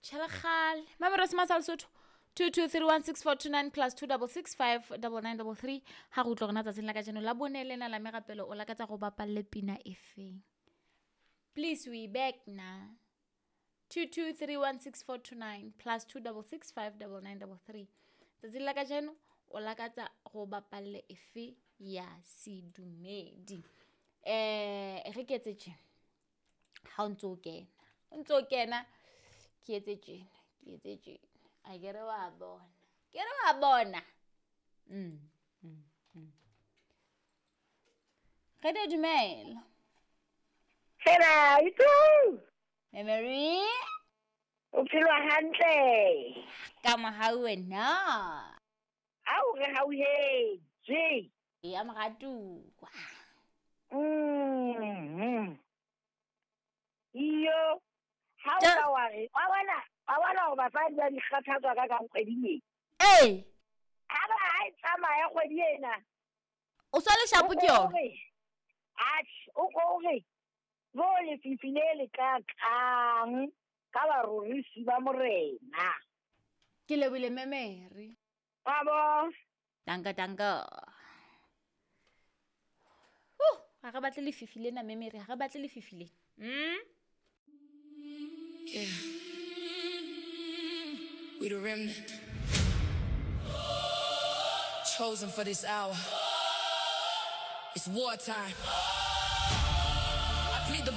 Tšhelekgale mamero se masa Lesotho 22316429 plus 26659933. Ga go utlwa gona tsatsing la kajeno la bone lena la merapelo, o lakatsa go bapalle pina e feng? Please, we back na 22316429 plus 26659933. Tsatsing la kajeno o lakatsa go bapalle efe ya sedumedi? Re ke etse tje, ha o ntse o kena, o ntse o kena, ke etse tjena, ke etse tjena, a ke re wa bona, ke re wa bona. Re di dumela. Fela itu. Memory. O phelwa hantle. Ka mohau wena. Ao re hauhetse. Ya moratuwa. Iyo. Ha o ka wa re, wa bona, wa bona hore basadi ba di kgathatswa ka kang kgweding e. Ee. Ha ba ha e tsamaya kgwedi ena. O sa le shapo ke yona. Atjhe, o ko re bo lefifi le le kakang ka barorisi ba morena. Ke lebile memory. Wa bo. Danka danka. Ha re batle lefifi lena memory, ha re batle lefifi le. Yeah. We the remnant. Chosen for this hour. It's wartime.